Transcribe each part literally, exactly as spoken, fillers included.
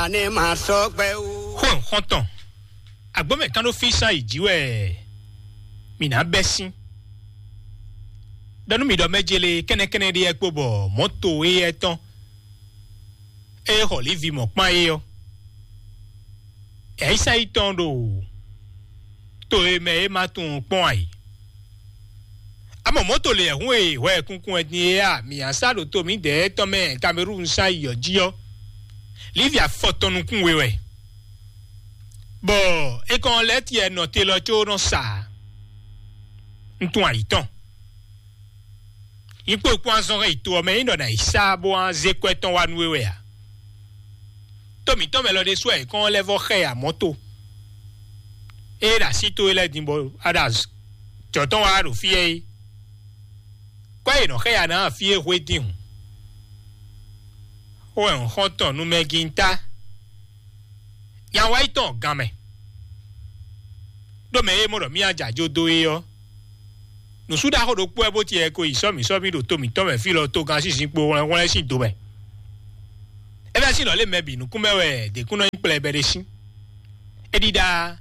Ani ma sɔ gbɛ o. Xó nxɔntɔn, agbómɛ kan ɖó físán yi jǐ wɛ mǐ ná bɛ́ sín. Ɖɔ nú mi ɖɔ mɛ jele kɛ́nɛkɛ́nɛ ɖé yɛ kpo bɔ mɔ̌to éyɛ́ tɔn e xɔ Livi mɔ̌ kpán é ɔ́, yɛ̌yísá yi tɔn ɖo to e mɛ é ma tunwun kpɔ́n ǎ é. Amɔ mɔ̌to lě hun e hwɛ kunkun wɛ din é a, mǐ a sá ɖo to mǐdɛɛ tɔn mɛ Kamerúnu sán yi ɔ́ jí ɔ́, Livi afɔ tɔn nukún we wɛ, bɔ é kɔn lɛ́ tiɛ nɔ te lɔ có nɔ sa ntun ayǐ tɔn. Nyí kpó kpɔ́n azɔn hɛn yi to ɔ́ mɛ é nɔ ná yi sá bó wá zé kwɛ́ tɔn wá nú we wɛ a? To mǐtɔn mɛ lɔ ɖésú wɛ è kɔn lɛ́ vɔ́ xɛ ya mɔ̌ to. Ée ɖo así towe lɛ́ɛ din bɔ a ɖo jɔ̌ tɔn wá ɖo fí ɛ é. Kwɛ́ e nɔ xɛ ya ná fí é hwedín hǔn. Xó wɛ un xɔ́n tɔn nú mɛ gíntá. Nya wá yi tɔn gan mɛ. Ɖó mɛ e mɔ ɖɔ mía jɛ ajo dó é ɔ́, nǔsú ɖaxó ɖokpó wɛ bó tiɛ ko yi sɔ́ mǐ sɔ́ mì ɖo to mǐtɔn mɛ fí lɔ togán sín zinkpo hwlɛ́nhwlɛ́n sín do mɛ. É bɛ́ sín nɔ lé mɛ bǐ nukún mɛ wɛ děkúnɔ nyí kplɛbɛ ɖé sín. É ɖíɖá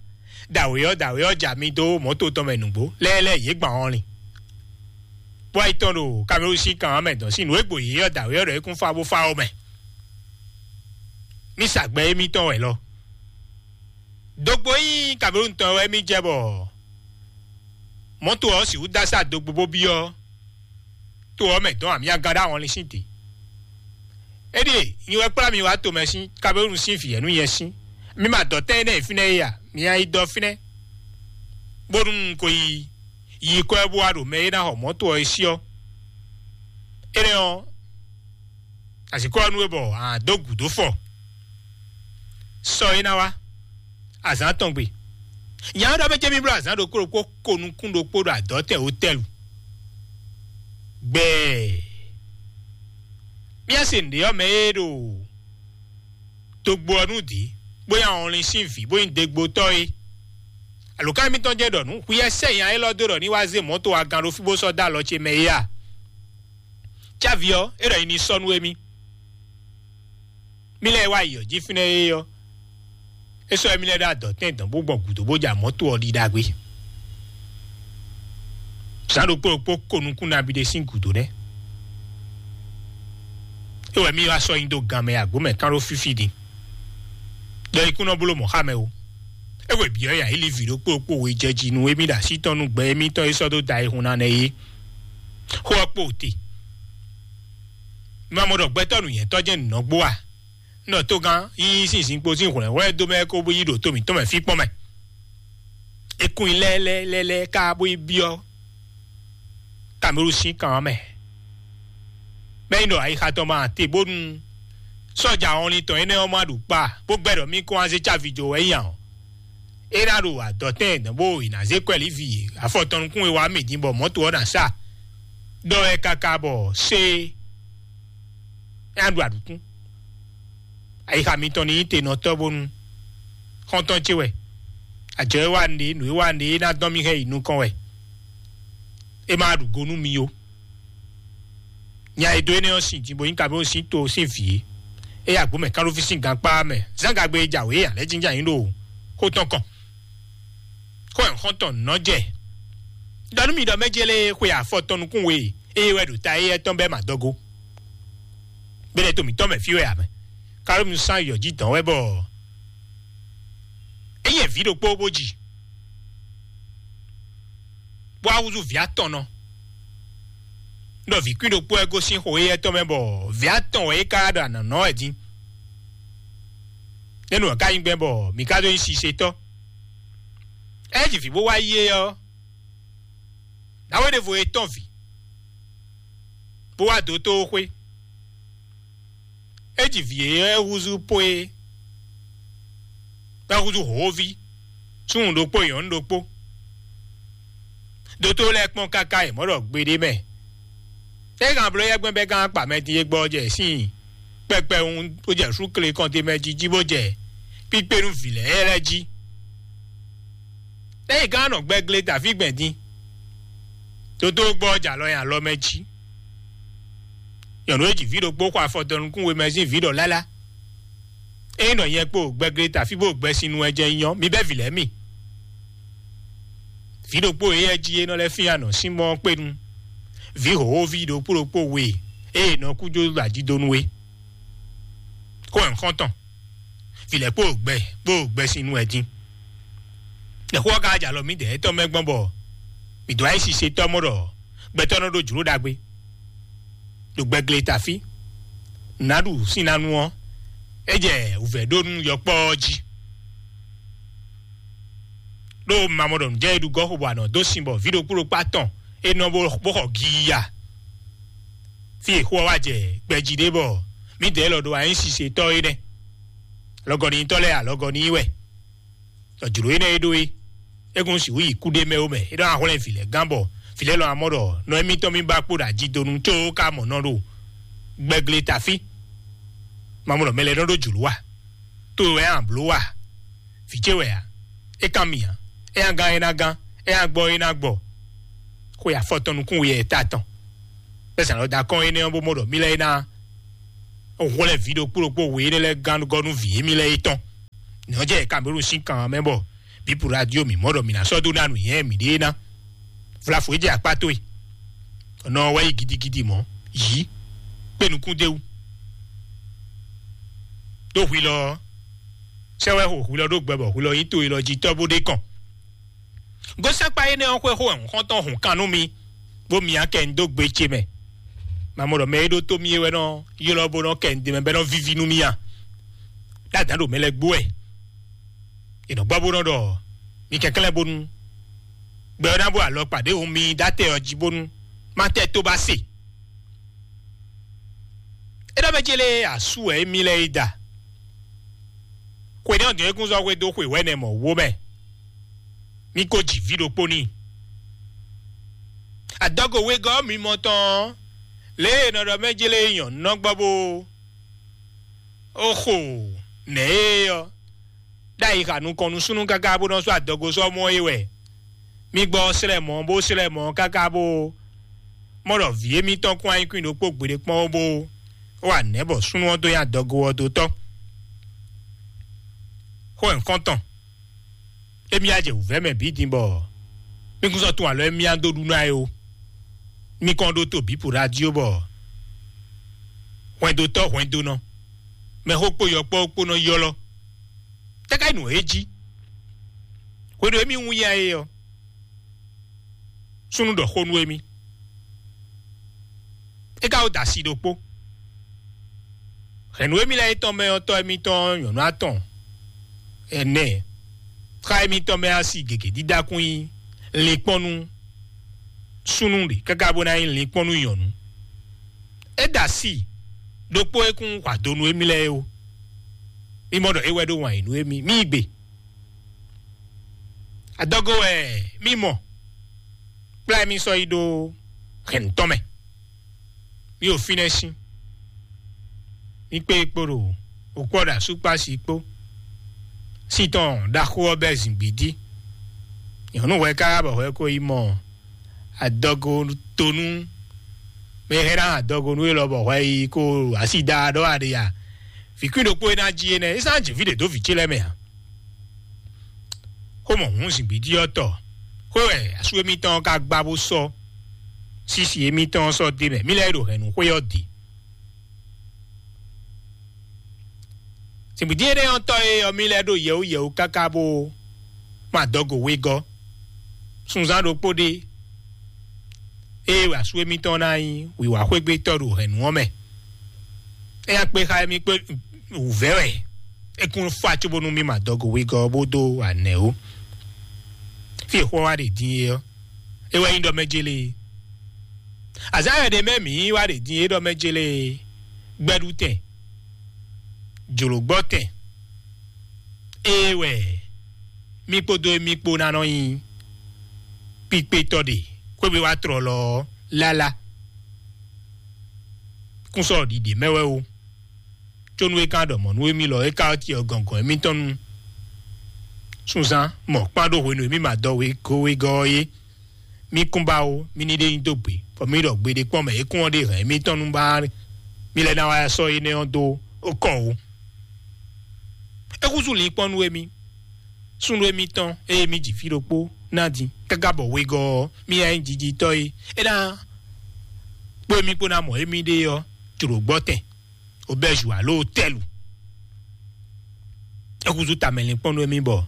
dǎwe ɔ́ dǎwe ɔ́ ja mi dó mɔ̌to tɔn mɛ nǔgbó lɛ́ɛ lɛ́ɛ yě gban ɔ́ lin. Bó wá yi tɔn ɖo Kamerúnu sín kan ɔ́ mɛ dɔn sín nǔ e gbo yě ɔ́ dǎwe ɔ́ ɖɔ é kún fá bó fá ɔ́ mɛ. Mí sa gbɛ émítɔn wɛ lɔ. Dogbo nyí Kamerúnu tɔn wɛ mí jɛ bɔ mɔ̌to ɔ́ sixú dó asá dogbo bó byɔ́ to ɔ́ mɛ dɔn amyagán ɖó ahɔnlin sín te. Éɖíe nyi wɛ kplá mi wá tomɛ sín Kamerúnu sín vǐ ɛ́ nú nyɛ sín. Mi ma dɔ tɛn énɛ́ e fínɛ́ é a? Mi nyi dɔ fínɛ́, bónú un ko yi yi kɔ ɛ bó wá ɖo mɛ e ná xɔ mɔ̌to ɔ́ é sí ɔ́. Énɛ́ ɔ́, azǐkɔ ɔ́ nú we bɔ a dó gǔdo fɔ. Sɔ é ná wá azǎn tɔn gbe. Nya ɔ́ ɖɔ mɛ jɛ mì bló azǎn ɖokpó ɖokpó ko nukún ɖokpó ɖo adɔ̌tɛn wotɛ́lu. Gbɛɛ. Mía se nǔɖé ɔ́ mɛ e ɖo dogbo ɔ́ nú dǐ, bó nyí ahɔnlin sín vǐ, bó nyí degbotɔ́ é. Alǒkan mitɔn jɛ́n ɖɔ nǔ xwíyɛ́ sɛ́nya élɔ́ dó ɖɔ ní wá zé mɔ̌to agan ɖo fí bó sɔ́ dó alɔ ce mɛ é a? Cávi ɔ́, é ɖɔ nyi ní sɔ́ nú émí. Mí lɛ́ɛ wá yi ɔ́ jí fínɛ́ é ɔ́, é sɔ́ émí lɛ́ɛ ɖó adɔ̌tɛn dɔn bó gbɔn gǔdo bó ja mɔ̌to ɔ́ ɖi ɖagbe. Zǎn ɖokpó ɖokpó ko nukún nabí ɖé sín gǔdo nɛ́. É wɛ mí wá sɔ́ nyi dó gan mɛ agbǒ mɛ kán ɖó fífí din. Ɖɔ ikú nɔ bló mɔ̌ xá mɛ o. É hwe bǐ ɔ́ ya yi li vǐ ɖokpó ɖokpó we jɛ jí nú émí ɖo así tɔn nú gbɛ émítɔn e sɔ́ dó da ayihún ná nɛ́ é. Xó ɔ́ kpo te. Ma mɔ ɖɔ gbɛtɔ́ nǔnywɛ́tɔ́ jɛ́n nǔ nɔ gbó a? Nɔ togán yíyí sín zinkpo sín hwlɛ̌nhwlɛ́n dó mɛ kó bó yi ɖo to mǐtɔn mɛ fí kpɔ́n mɛ. É kún nyi lɛ́lɛ́lɛ́lɛ́ ká bó yi byɔ́ Kamerúnu sín kan ɔ́ mɛ. Mɛ nyi ɖɔ ayixa tɔn ma te bónú sɔ́ja ɔnlin tɔn énɛ́ ɔ́ ma ɖu kpa bó gbɛ́ ɖɔ mí kɔn wá zé cávi jó wɛ nyí ǎ ɔ́, é ná ɖo adɔ̌tɛn dɔn bó è nǎ zé kwɛ́ lívi afɔ tɔn nukún e wá mì din bɔ mɔ̌to ɔ́ ná sa ɖɔ wɛ káká bɔ sé é ná ɖu aɖǔkún. Ayixa mitɔn ní nyí tenɔtɔ́ bónú xɔ́ntɔn ce wɛ. Ajɔ e wa nǔɖé, nǔ e wa nǔɖé é ná dɔn mì hɛn yi nukɔn wɛ. É ma ɖu go nú mi ó. Nya e dó énɛ́ ɔ́ sin din bó nyí Kamerúnu sín to sín vǐ é. É yi agbǒ mɛ kánɖófí sín gankpá mɛ. Zán gagbe e jǎwe é ǎ lɛ́ jínjɔ́n ayǐ ɖo xó tɔn kɔn. Xó ɛ xɔ́ntɔn nɔ́ jɛ. Ɖɔ nú mi ɖɔ mɛ jélé xwe afɔ tɔn nukún we eye wɛ ɖo ta éyɛ́ tɔn bɛ́ mɛ adɔgo. Bɛ́lɛ́ to mǐtɔn mɛ fí wɛ ǎ mɛ. Kálómi sán yɔ jí dɔn wɛ bɔ é yɛ vǐ ɖokpó bó ji, bó wá húzú vǐ atɔn nɔ. Ɖɔ vǐ kwín ɖokpó wɛ gosín xo éyɛ́ tɔn mɛ bɔ vǐ atɔn wɛ é ka ɖo anɔ̌ wɛ dín. Nɛ́ nǔ ɔ́ ka nyí gbɛn bɔ mǐ ka ɖó nyí sisetɔ́? É ji vǐ bó wá yí é ɔ́, nǎwe ɖěvo e tɔ́n vǐ, bó wá dó tó xwé. É ji vǐ e é húzú pó é, é húzú hǒví, súnnu ɖokpó nyɔ̌nu ɖokpó. Dótó lɛ́ɛ kpɔ́n káká yě mɔ ɖɔ gbeɖé mɛ. É hɛn bló yɛ́gbɛ́n bɛ́ gán kpa mɛ din e gbɔ jɛ sín kpɛkpɛwun bó jɛ súkle kɔnte mɛ jí jí bó jɛ kpíkpé nú vǐ lɛ́ɛ lɛ́ɛ jí. Ényí gán nɔ gbɛgle dǎví gbɛn din, dótó gbɔ jɛ alɔ nyi alɔ mɛ jí. Nyɔ̌nu e ji vǐ ɖokpó xɔ afɔ dɔnukún we mɛ sín vǐ ɖɔ lálá. Ényí nɔ nyɛ kpo gbɛgle tafí bó gbɛsin nu wɛ jɛ nyɔ, mi bɛ́ vǐ lɛ́ɛ mi. Vǐ ɖokpó e yɛ jí é nɔ lɛ́ fín anɔ sín mɔ kpénu. Vǐ hǒhóví ɖokpó ɖokpó we e nɔ kú jó ajidonu é. Xó ɛ xɔ́ntɔn. Vǐ lɛ́ɛ kpo gbɛ kpo gbɛsin nu wɛ dín. Lɛ̌xó ɔ́ ka jɛ alɔ mǐdɛɛ tɔn mɛ gbɔn bɔ mǐ dó ayǐ sisetɔ́ mɔ ɖɔ gbɛtɔ́ nɔ ɖó jlǒ ɖagbe ɖo gbɛgle tafí. Nǎ ɖu sín ná nu ɔ́, é jɛ wǔvɛ́ ɖó nú yɔkpɔ́ ɔ́ jí. Ɖó mamɔ ɖɔ nǔjɛ e ɖu gɔ́ xo bɔ anɔ dó sin bɔ vǐ ɖokpó ɖokpó atɔn é nɔ bó bó xɔ giya. Fí e xó ɔ́ wá jɛ gbɛjí ɖé bɔ mǐdɛɛ lɔ ɖo ayǐ sisetɔ́ é nɛ́. Alɔgɔnitɔ́ lɛ́ɛ alɔgɔni wɛ. Ɖɔ jlǒ énɛ́ e ɖó é, é kún sixú yi kúɖé mɛ ó mɛ. É ɖɔ ahwlɛ́n vǐ lɛ́ɛ gán bɔ vǐ lɛ́ɛ lɔ amɔ ɖɔ nɔ émítɔn mì ba kpo ɖo ajidonu có ka mɔ nɔ ɖo gbɛgle tafí. Mamɔ ɖɔ mɛ lɛ́ɛ nɔ ɖó jlǒ wa, to wɛ a blǒ wa, vǐ ce wɛ a, é kan mì ǎ, é nya gán é ná gán, é nya gbɔ é ná gbɔ. Xwe afɔtɔn nukún we yɛ ta tɔn. Bɛ́ zǎn lɔ da kɔn énɛ́ ɔ́ bó mɔ ɖɔ mí lɛ́ɛ é ná hwlɛ́n vǐ ɖokpó ɖokpó we énɛ́ lɛ́ɛ gán gɔ́ nú vǐ émí lɛ́ɛ é tɔn. Nɛ̌ ɔ́ jɛ Cameroun sín kan ɔ́ mɛ bɔ Bipu Radio mǐ mɔ ɖɔ mǐ ná sɔ́ dó ná nǔnywɛ́ mǐɖée ná. Vlafu é jɛ akpá towe. Nɔ wɛ yi gidigidi mɔ̌, yǐ, kpé nukún d'é wú. Ɖó hwi lɔ ɔ́, sɛ́ wɛ xo hwi lɔ ɖó gbɛ bɔ hwi lɔ nyí to e lɔ jí tɔ́ bó ɖe kɔn. Gosɛ́nkpa énɛ́ ɔ́ xwé xó wɛ xɔ́ntɔn hun kan nú mi, bó myá kɛ un dó gbe ce mɛ. Mamɔ ɖɔ mɛ e ɖó tó mì é wɛ nɔ ylɔ́ bó nɔ kɛ un d'é mɛ bɔ é nɔ víví nú mì a? Ɖó adǎn ɖo mɛ lɛ́ɛ gbó wɛ. È nɔ gbɔ bó nɔ ɖɔ mi kɛnklɛ́n bónú gbɛ ɔ́ ná bó alɔkpa ɖěvo mi dó atɛ ɔ́ jí bónú má tɛ tó ba se. É ɖɔ mɛ ce lée asú wɛ émí lɛ́ɛ é da. Xwe nɛ́ ɔ́ dɔn é kún zɔ́ xwedó xwe wɛ̌nɛ mɔ̌ wó mɛ. Mí ko ji vǐ ɖokpó n'i. Adɔgo wegɔ́ mimɔ tɔn ɔ́, lě e è nɔ ɖɔ mɛ jlé nyɔ̌nu nɔ gbɔ bó oxo nɛ̌ é ɔ́, ɖ'ayǐ xa nukɔn nú súnnu káká bó nɔ́ sú adɔgo sɔ́ mɔ é wɛ. Mi gbɔ slɛ mɔ̌ bó slɛ mɔ̌ káká bó mɔ ɖɔ vǐ émítɔn kún anyínkún ɖokpó gbeɖé kpɔ́n ó bó wa nɛ̌ bɔ súnnu ɔ́ dó nyi adɔgo ɔ́ dó tɔ́. Xó nyǐkɔ́ntɔn. Émí á jɛ wǔvɛ́ mɛ bǐ din bɔ mí kún sɔ́ tún alɔ émí á dó ɖu ná é ó. Mí kɔn ɖótó bǐ po radio bɔ hwɛndótɔ́ hwɛndónɔ, mɛxó kpó yɔkpɔ́ kpó nɔ ylɔ́. Tɛ́ ká nyí nǔ e jí? Hwenu e mí wún ya é ɔ́, súnnu ɖɔ xó nú émí. É ka wó da asi ɖokpó. Hɛ̌nnu émí lɛ́ɛ é tɔn mɛ ɔ́, tɔ́ émítɔn nyɔ̌nu atɔn ɛnɛ, xá émítɔn mɛ asi gěgé dídá kún nyí linkpɔ́n nú súnnu ɖě káká bó ná nyí linkpɔ́n nú nyɔ̌nu. É da asi ɖokpó e kún hwa do nú émí lɛ́ɛ é ó. Mí mɔ ɖɔ é wɛ ɖó wǎn yí nú émí. Mí yi gbe. Adɔgo wɛ mí mɔ, kplá mí sɔ́ yi ɖó hɛ̌nnu tɔn mɛ. Mí ɖo fínɛ́ sín. Mí kpé kpo ɖo òkpɔ́ ɖo asúkpási kpó. Sí tɔn ɖaxó ɔ́ bɛ́ zǐngbídí. Nyɔ̌nu hwɛ káká bɔ hwɛ ko yi mɔ adɔgo tonú mɛ e hɛn ná adɔgo nú élɔ́ bɔ hwɛ yi ko así da ɖɔ aɖe ya. Vǐ kwín ɖokpó e ná jí énɛ́, é sán jǐ fí ɖě dó vǐ ce lɛ́ɛ mɛ ǎ. Xó mɔ hǔn zǐngbídí ɔ́ tɔ, xwé wɛ asú émítɔn ɔ́ ka gbá bó sɔ́ sísi émítɔn ɔ́ sɔ́ d'é mɛ. Mí lɛ́ɛ ɖo hɛ̌nnu xwé ɔ́ dě. Zǐngbídí énɛ́ ɔ́ tɔ e ɔ́, mí lɛ́ɛ ɖo yɛ̌wú yɛ̌wú káká bó mɔ adɔgo wegɔ́. Sunzán ɖokpó ɖé ée wɛ asú émítɔn ná nyí wǐwá xwégbétɔ́ ɖo hɛ̌nnu ɔ́ mɛ. É nya kpé xá émí kpé wǔvɛ́ wɛ é kún fá cóbónú mí ma dɔgo wegɔ́ bó dó anɛ̌ ó. Fí e xó ɔ́ wá ɖe din é ɔ́, é wɛ nyí ɖɔ mɛ jélé. Azǎn wɛ ɖě mɛ mǐ wá ɖe din é ɖɔ mɛ jélé. Gbɛɖutɛn, jlǒgbɔ́tɛn, ée wɛ mí kpódó émí kpó ná nɔ nyí kpíkpétɔ́ ɖe xwé wá tlɔlɔ ɔ́ lálá. Kún sɔ́ ɖiɖe mɛ wɛ ó. Có nú é ka ɖɔ mɔ̌ nú émí lɔ, é ka cyɔ gɔ̌ngɔ́n émítɔn nú sunzán mɔ̌ kpán ɖó hwenu e mí ma dɔ wegɔ́ wegɔ́ ɔ́ é. Mí kún ba ó, mí ní ɖe nyi dó gbe, bɔ mí ɖɔ gbeɖé kpɔ́n mɛ é kún ɔ́ ɖe hɛ̌n émítɔn nú ba mí lɛ́ ná wá sɔ́ énɛ́ ɔ́ dó kɔ ó. Xúzú linkpɔ́n nú émí, súnnu émítɔn e émí ji fí ɖokpó ná din, káká bɔ wegɔ́ ɔ́, mí yá nyí jijitɔ́ é. É ná kpó émí kpó ná mɔ émí ɖe ɔ́, jlǒ gbɔ tɛn, obɛ́zu alo tɛ́lu. É húzú tamɛ linkpɔ́n nú émí bɔ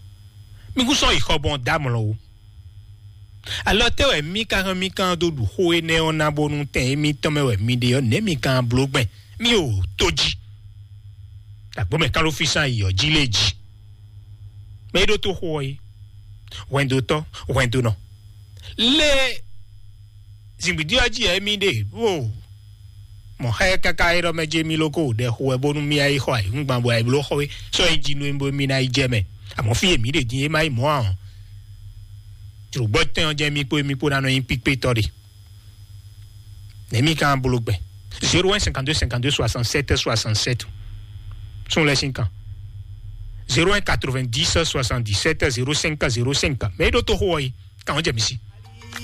mí kún sɔ́ yi xɔ gbɔn dó amlɔ ó. Alɔ tɛ́ wɛ mí ka hɛn mí kan dó ɖu xó énɛ́ ɔ́ ná bónú tɛn émítɔn mɛ wɛ mi ɖe ɔ́, nɛ̌ mi kan bló gbɛn? Mí o tó jí. Dǎgbó mɛ kán ló fí sán yi ɔ́ jí lé jí. Mɛ é ɖó tó xó ɔ́ é. Hwɛndótɔ́, hwɛndónɔ. Lé zǐngbídí ɔ́ jí ɛ mí ɖe bó mɔ xá ɛ káká é ɖɔ mɛ jɛ mí lóko ɖɛ xo wɛ bónú mí yá yi xɔ ayǐhúngban bɔ ayǐbló xɔ é sɔ́ é jí nú é bó mí ná yi jɛ mɛ. Àmọ́ fí èmí ɖe dín é má yi mɔ̌ ǎ ɔ́. Jlǒgbɔ́ tɛn ɔ́ jɛ mí kpó émí kpó ná nɔ nyí píkpétɔ́ ɖe. Nɛ̌ mí kan bló gbɛn? Zéro un cinquante-deux cinquante-deux soixante-sept soixante-sept. Sún lɛ́ sín kan. Zéro un quatre-vingt-dix soixante-dix-sept zéro cinq zéro cinq. Mɛ é ɖó tó xó ɔ́ yi. Kan ɔ́ jɛ mí sí.